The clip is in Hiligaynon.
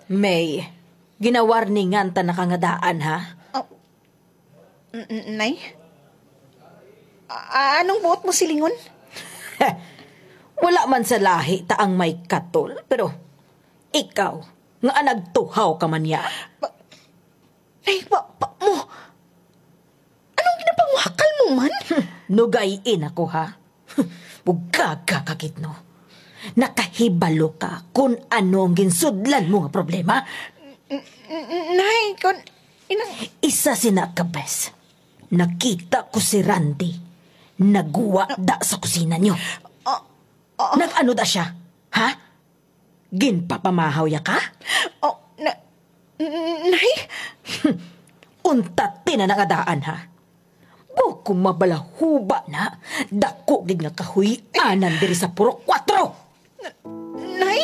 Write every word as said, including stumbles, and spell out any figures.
May, ginawarningan ta na ka nga daan, ha? Oh. N-, n-, Nay? A-, anong buot mo silingon? Wala man sa lahi ta ang may katol, pero ikaw, nga nagtuhaw ka man niya. Ba-, Nay, ba, ba mo? Anong ginapangwakal mo man? Nugay-in ako, ha? Bugaga ka gid, no? Nakahibalo ka kung ano ang ginsudlan mo nga problema? N-, n-, Nay, kon ina- Isa sina ka bes, nakita ko si Randy nagwada sa kusina niyo. Ah, ah. Nag-ano da siya? Ha? Ginpapamahaw ya ka? Oh, na, n-, Nay? Untat na nga daan, ha? Buko mabalahuba na, dako gid nga kahuy-anan diri sa Purok Kuwatro. Nay?